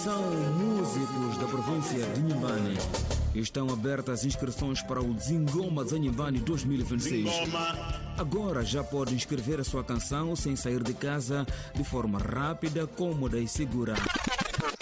Atenção, músicos da província de Inhambane. Estão abertas as inscrições para o Zingoma de Inhambane 2026. Agora já pode inscrever a sua canção sem sair de casa, de forma rápida, cômoda e segura.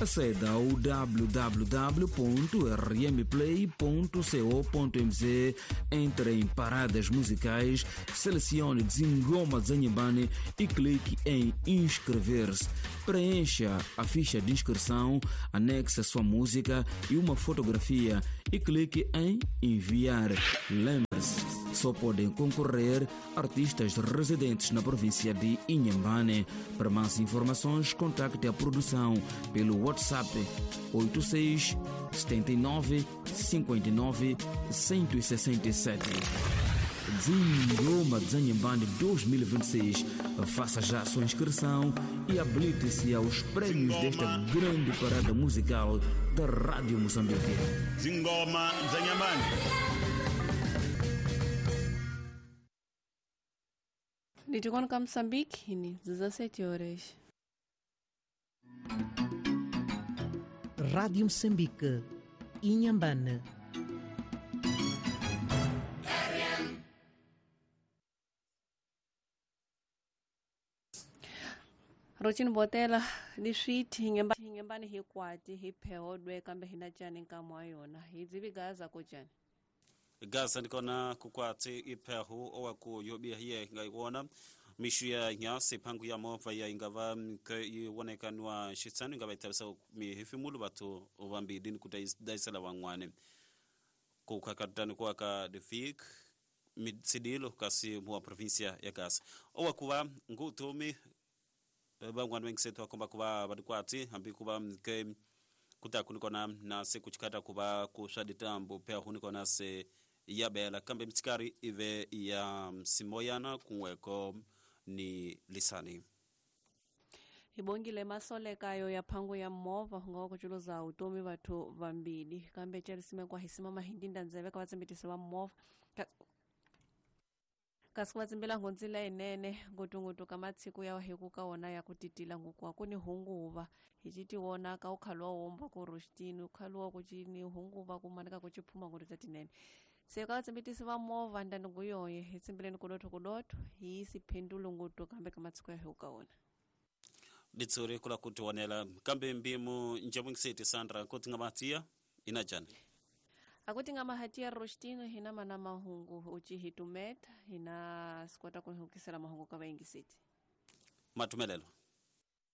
Aceda ao www.rmplay.co.mz, entre em paradas musicais, selecione Zingoma de Inhambane e clique em inscrever-se. Preencha a ficha de inscrição, anexe a sua música e uma fotografia e clique em enviar. Lembre-se, só podem concorrer artistas residentes na província de Inhambane. Para mais informações, contacte a produção pelo WhatsApp 86 79 59 167. Zingoma de Inhambane 2026. Faça já a sua inscrição e habilite-se aos prêmios desta grande parada musical da Rádio Moçambique. Zingoma de Inhambane. Nditikona ka Moçambique, ni 17 horas. Rádio Moçambique, Inhambane. Rotini botela diswiti hingemba ni hikwati hiphehodwe kambe hina cani nkamo wa yona hi dzivi gaza ko cani Gaza ndikona kukwati iphehu owaku yobiya hiye ngaiwona mishu ya nyasi phangu ya mova ya ingava iwonekanwa xitsano ingava ithavisa mihefemulo vathu vambili ni kudayisela van'wani kukhakatani kuwaka defik mitsidilo kasi muwa provincia ya Gaza owakuva ngutumi van'wani vengisethu vakomba kuva vadikwati hambi kuva ke kutaku nikona na se kuchikata kuva kuswa ditambo phehu nikona se yabela kambe mitsikari ive ya simoyana kunweko ni lisani hibongile masolekayo ya phangu ya movha hunga kuchuluza utomi vathu vambili kambe celisimekwa hisimama hindinda ndzeve ka vatsimbitisi va movha kasi va tsimbela nghondzila yinene ngutunguthu ka matshiku ya hiku ka wona ya ku titila ngukuwa ku ni hunguva hi citi wona ka ukhaluwa womba ku roxitini ukhaluwa ku cini hunguva ku manika ku ciphuma nguthu ta tinene se ka vatsimbitisi va movha ndanduku yoye hi tsimbeleni kudotho kudotho hi siphendulo nguthu kambe ka matshiku ya hiku ka wona ditsuri kula ku tionela kambe mbimu njabungiseti Sandra kuti nga matia ina jani akuti nga mahatia rostino hina mana mahungu uci hitumeta hina sikwata kuhukisela mahungu ka vaingiseti matumelelo.